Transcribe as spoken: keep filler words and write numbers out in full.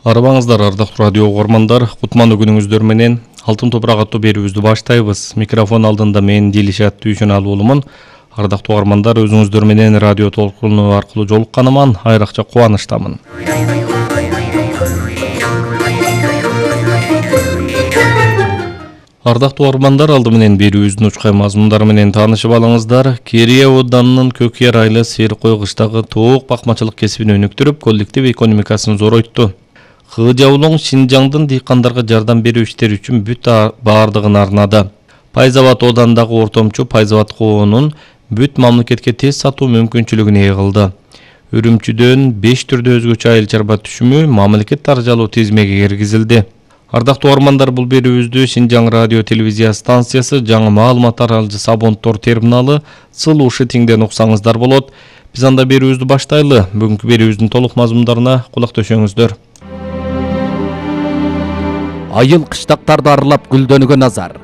Арыбаңыздар, ардактуу радио угармандар, кутмандуу күнүңүздөр менен Алтын топурак аттуу берүүбүздү баштайбыз. Микрофон алдында мен Дилишат Дүйшөналы уулумун. Ардактуу угармандар, өзүңүздөр менен радио толкуну аркылуу жолукканыман айрыкча кубанычтамын. Ардактуу угармандар, алды менен берүүбүздүн учкай мазмундары менен таанышып алыңыздар. Керие ауданынын Көкъер айылы Серкой кыштагы тоок бакмачылык кесибин өнүктүрүп, коллектив экономикасын зоройту. Кыжабулуң Шинжаңдын дыйкандарга жардам берүү иштери үчүн бүт баардыгын арнады. Пайзабад оодандагы ортомчу Пайзабад коонун бүт мамлекетке тез сатуу мүмкүнчүлүгүн ээ кылды. Үрүмчүдөн беш түрдө өзгөчө айыл чарба түшүмү мамлекет таржалоо тизмеге киргизилди. Ардактуу угармандар, бул берүүбүздү Шинжаң радио телевизия станциясы, жаңы маалымат таралжы Сабонтор терминалы Сылуушу тиңден уксаңыздар болот. Биз анда берүүбүздү баштайлы. Бүгүнкү берүүбүздүн толук мазмундарына кулак төшөңүздөр. Айыл кыштактарды аралап гүлдөнгөн азар.